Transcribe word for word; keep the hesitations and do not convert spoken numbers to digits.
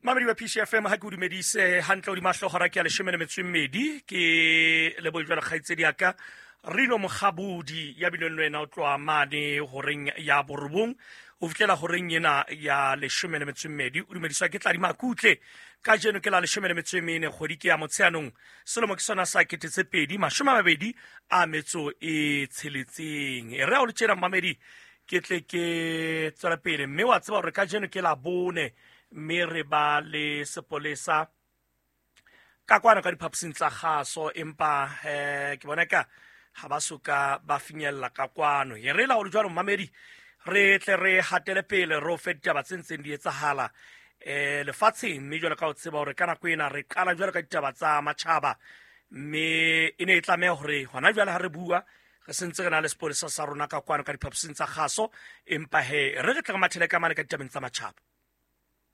Mamedi wa P C F M, ha ke o dumedise hantle hodima hlooho ke ya leshome le metso e mmedi. Ke lebohe jwalo kgaitsedi ya ka Rino Mokgabudi ya bileng le wena o tloha mane horeng ya borobong ho fihlela horeng ena ya leshome le metso e mmedi. O dumediswa ke Tladi Makutle. Kajeno ke la leshome le metso e mene, kgwedi ke ya Motsheanong, selemo ke sona sa kete tse pedi mashome a mabedi a metso e tsheletseng. E re ha o le tjena mmamedi, ke tle ke tswela pele, mme wa tseba hore kajeno ke la bone, mme re ba le sepolesa ka kwana ka diphaposing tsa kgaso, empa eh ke bona ka ha ba soka ba finyella ka kwano. E re la hore jwalo mmamedi, re tle re hatele pele re o fe ditaba tse ntseng di etsahala eh lefatsheng, mme jwalo ka o tseba hore ka nako ena re qala jwalo ka ditaba tsa matjhaba, mme e ne e tlameha hore hona jwale ha re bua re sentse re na le sepolesa sa rona ka kwano ka diphaposing tsa kgaso, empa he re re tle re mathele ka mane ka ditabeng tsa matjhaba.